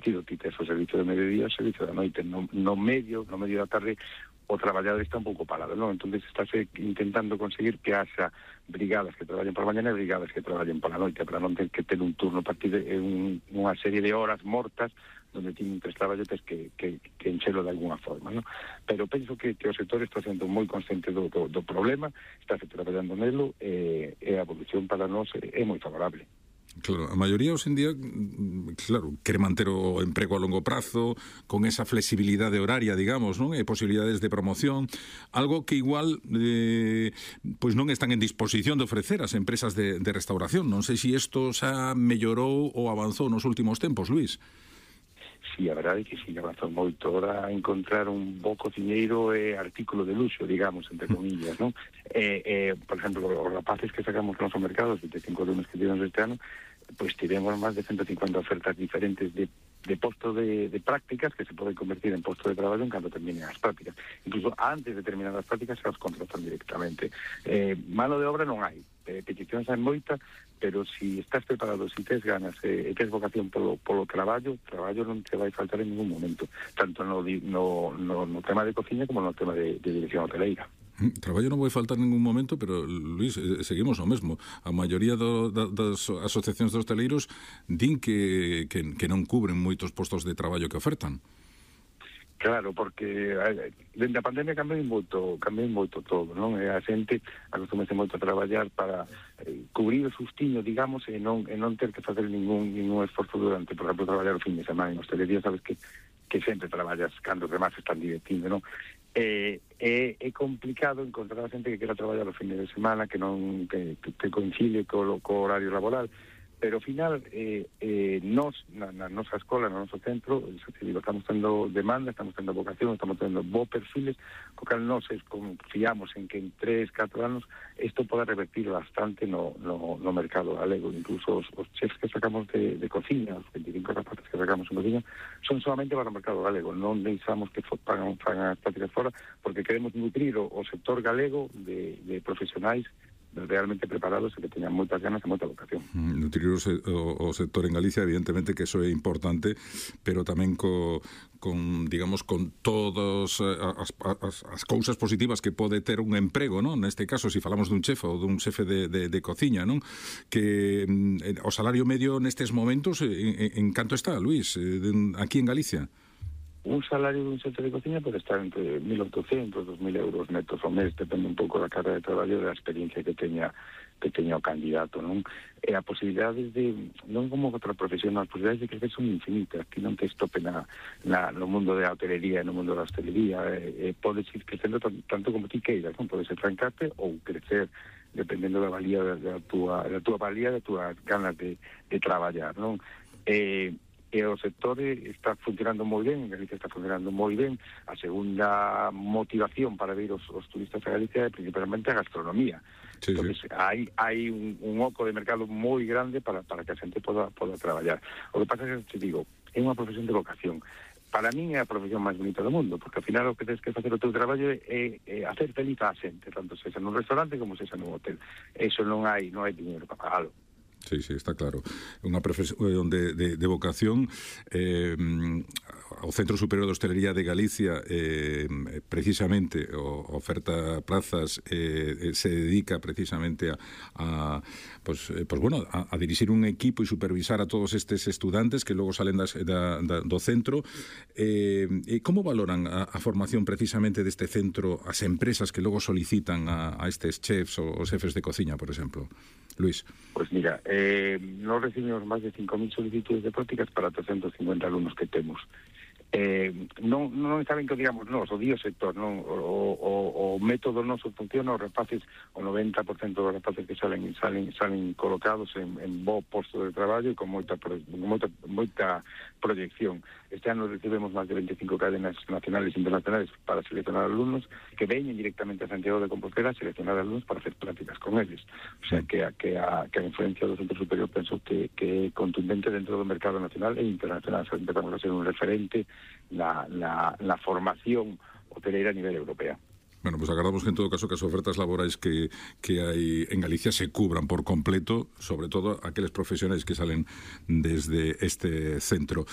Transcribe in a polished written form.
establecido, ti tes o servicio de mediodía e o servicio da noite, no medio da tarde o traballador está un pouco parado, non? Entón estás intentando conseguir que haxa brigadas que traballen por mañana e brigadas que traballen por la noite, para non ter que ter un turno partido, unha serie de horas mortas donde tienen tres traballos que enchelo de alguna forma, ¿no? Pero penso que o sector está sendo moi consciente do problema, está traballando nelo, e a evolución para nós é moi favorable. Claro, a maioría hoxe en día, claro, quere manter o emprego a longo prazo, con esa flexibilidade horaria, digamos, non? E posibilidades de promoción, algo que igual pois non están en disposición de ofrecer as empresas de restauración. Non sei se isto xa mellorou ou avanzou nos últimos tempos, Luís. Sí, a verdade é que sí, avanzou moito. Ahora encontrar un bo cociñeiro é artículo de luxo, digamos, entre comillas, non? Por exemplo, os rapaces que sacamos nos mercados, 25 alumnos que tivemos este ano, pois tivemos máis de 150 ofertas diferentes de posto de prácticas que se poden convertir en posto de traballo en cando terminen as prácticas. Incluso antes de terminar as prácticas se os contratan directamente. Mano de obra non hai, peticións hai moita, pero si estás preparado, si tes ganas e tes vocación polo traballo non te vai faltar en ningún momento, tanto no tema de cociña como no tema de dirección hoteleira. Traballo non vai faltar en ningún momento, pero, Luís, seguimos o mesmo. A maioría das asociacións de hosteleiros din que non cubren moitos postos de traballo que ofertan. Claro, porque dende a pandemia cambiou moito todo, non? A xente acostumase moito a traballar para cubrir o sustiño, digamos, e non ter que facer ningún esforzo durante, por exemplo, traballar o fin de semana. En hostelería sabes que sempre traballas cando os demás están divirtindo, non? É complicado encontrar a xente que quera traballar o fin de semana, que coincide co horario laboral. Pero ao final, nos, na nosa escola, no noso centro, estamos tendo demanda, estamos tendo vocación, estamos tendo bo perfiles, co cal nos confiamos en que en 3-4 anos isto poda revertir bastante no mercado galego. Incluso os chefs que sacamos de cociña, os 25 rapaces que sacamos en cociña, son solamente para o mercado galego. Non deixamos que fagan as prácticas fora, porque queremos nutrir o sector galego de profesionais realmente preparados e que teñan moitas ganas e moita vocación. Nutrir o sector en Galicia, evidentemente que eso é importante, pero tamén con todas as cousas positivas que pode ter un emprego, non? Neste caso, se falamos dun chef ou dun xefe de cociña, non? Que o salario medio nestes momentos en canto está, Luís, aquí en Galicia? Un salario dun xefe de cociña pode estar entre 1.800 e 2.000 euros netos ao mes, depende un pouco da carga de traballo e da experiencia que teña o candidato, non? E a posibilidades de, non como outra profesión, as posibilidades de crecer son infinitas, que non te estope no mundo da hotelería e no mundo da hostelería, podes ir crecendo tanto como ti queiras, non? Podes trancarte ou crecer dependendo da valía da túa valía, das túas ganas de traballar, non? E o sector está funcionando moi ben, en Galicia está funcionando moi ben. A segunda motivación para vir os turistas a Galicia é principalmente a gastronomía. Sí, entonces sí. hai un oco de mercado moi grande para que a xente poda traballar. O que pasa é que, te digo, é unha profesión de vocación. Para min é a profesión máis bonita do mundo, porque ao final o que tens que facer o teu traballo é hacer feliz a xente, tanto sexa nun restaurante como sexa nun hotel. Eso non hai dinheiro para pagalo. Sí, está claro. Unha profesión de vocación. O Centro Superior de Hostelería de Galicia precisamente oferta plazas, se dedica precisamente a dirixir un equipo e supervisar a todos estes estudantes que logo salen do centro. Como valoran a formación precisamente deste centro as empresas que logo solicitan a estes chefs ou xefes de cociña, por exemplo? Luís. Pois mira, nós recibimos máis de 5.000 solicitudes de prácticas para 350 alumnos que temos. Non saben que digamos nós, o dio sector, non? O método noso funciona, os rapaces, o 90% dos rapaces que salen colocados en bo posto de traballo e con moita proyección. Este ano recibimos máis de 25 cadenas nacionales e internacionales para seleccionar alumnos que veñen directamente a Santiago de Compostela a seleccionar alumnos para hacer prácticas con eles. O sea, que a influencia do Centro Superior penso que é contundente dentro do mercado nacional e internacional. O sea, empezamos a ser un referente na formación hoteleira a nivel europea. Bueno, pues agardamos que en todo caso que as ofertas laborais que hai en Galicia se cubran por completo, sobre todo aqueles profesionais que salen desde este centro.